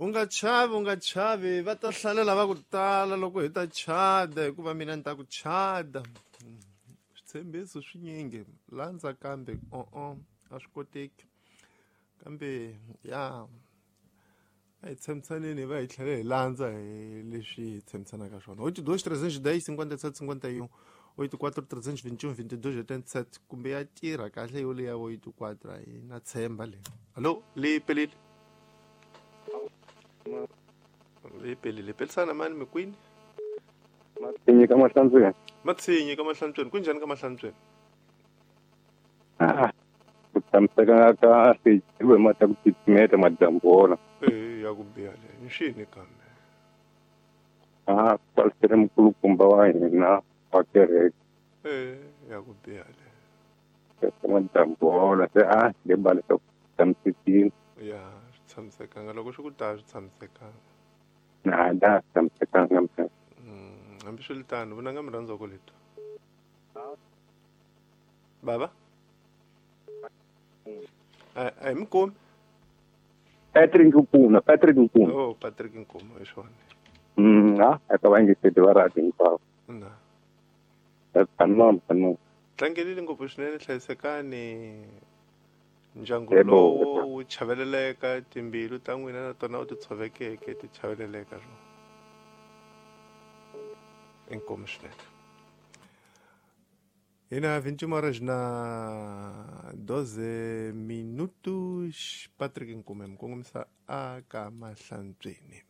U nga chavi, u nga chavi, va ta hlalela va ku tala loko hi ta chada, hikuva mina ni ta ku chada. Switshembiso swinyingi landza kambe o-o a swi koteki. Kambe ya a hi tshembisaneni hi va hi tlhela hi landza hi leswi hi tshembisanaka swona. Oito dois trezentos e dez cinquenta e sete cinquenta e um, oito quatro trezentos e vinte e um vinte e dois oitenta e sete, kumbe ya tirha kahle yo leya oito quatro a yi na tshemba leyi. Hallo, leyi pelile. Leyi pelile. Pelisana mani mi kwini? Matsinyi ka Mahlantsweni. Matsinyi ka Mahlantsweni. Kunjhani ka Mahlantsweni? Ah, ku tshamiseka kahle hi ve mati ya ku titimeta madyambu wona. Eh, ya ku biha le. Ni xini kambe? Ah, kwalisele mukulukumba wa hina wa kereke. Eh, ya ku biha le. Se madyambu wona se a le bale swa ku tshamisekile. Ya, swi tshamisekanga loko swi ku ta swi tshamisekanga. Na da tshamisekanga mfana. Hambiswiritano, vunanga mi rhandza ku leto. Baba? A hi mi kumi. Patrick Nkuma, Patrick Nkuma. Oh, Patrick Nkuma, hi swona. Ha, eka vayingiseri va radio hinkwavo. Na. Tsanoma, tsanoma. Tlangelile ngopfu swinene, hlayisekani. Ndyangu lowo wu chaveleleka, timbilu ta n'wina na tona u ti tshovekeke ti chaveleleka swona. Inkomu swinene. Hina 21 horas na 12 minutos. Patrick Nkume mukongomisa aka Mahlantsweni.